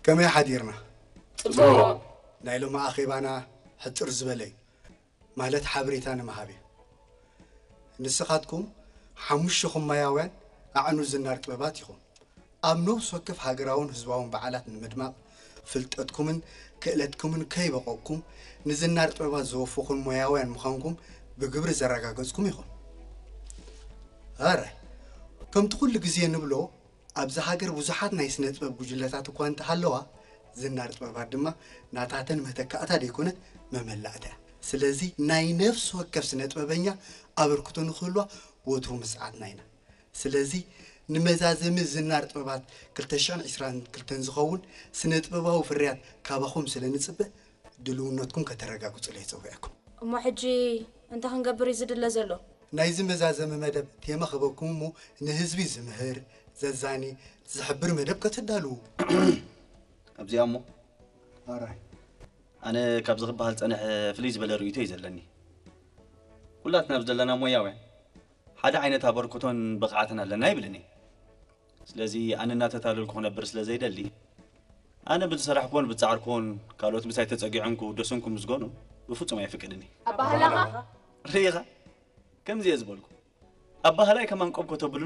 ከመይ ሓዲርና? ጽቡቕ። ናይ ሎሚ ኣኼባና ሕጽር ዝበለ እዩ፣ ማለት ሓበሬታ ንምሃብ እዩ። ንስኻትኩም ሓሙሽኹም ሞያውያን ኣዕኑድ ዝናር ጥበባት ኢኹም። ኣብ ነፍሲ ወከፍ ሃገራውን ህዝባውን በዓላት ንምድማቕ ፍልጠትኩምን ክእለትኩምን ከይበቐቕኩም ንዝናር ጥበባት ዘወፈኹን ሞያውያን ምዃንኩም ብግብሪ ዘረጋገጽኩም ኢኹም። ኣራይ ከምቲ ኩሉ ግዜ ንብሎ ኣብዚ ሃገር ብዙሓት ናይ ስነ ጥበብ ጉጅለታት እኳ እንተሃለዋ ዝናር ጥበባት ድማ ናታተን መተካእታ ደይኮነት መመላእታ እያ። ስለዚ ናይ ነፍሲ ወከፍ ስነ ጥበበኛ ኣበርክቶ ንክህልዋ ወትሩ ምስዓትና ኢና። ስለዚ ንመዛዘሚ ዝናር ጥበባት ክልተ ሽሕን ዕስራን ክልተን ዝኸውን ስነ ጥበባዊ ፍርያት ካባኹም ስለ ንጽበ ድልውነትኩም ከተረጋግጹለይ ጸዊዐኩም። እሞ ሕጂ እንታይ ክንገብር እዩ ዝድለ ዘሎ? ናይዚ መዛዘሚ መደብ ቴማ ክበኩም እሞ ንህዝቢ ዝምህር፣ ዘዛኒ፣ ዝሕብር መደብ ከተዳልዉ። ኣብዚኣ እሞ ኣነ ካብዚ ክበሃል ጸንሐ ፍልይ ዝበለ ርእይቶ እዩ ዘለኒ። ኩላትና ኣብ ዘለና ሞያውያን ሓደ ዓይነት ኣበርክቶን ብቕዓትን ኣለና ይብልን እየ። ስለዚ ኣነ እናተታለልኩ ክነብር ስለ ዘይደሊ ኣነ ብዝሰራሕኩዎን ብዝጻዕርኩዎን ካልኦት ምሳይ ተጸጊዖም ክውደሱን ክምስገኑ ብፍጹም ኣይፍቅድን እየ። ኣባህላኻ ርኢኻ ከምዚ እየ ዝበልኩ ኣባህላይ ከማን ቆብ ከተብሉኒ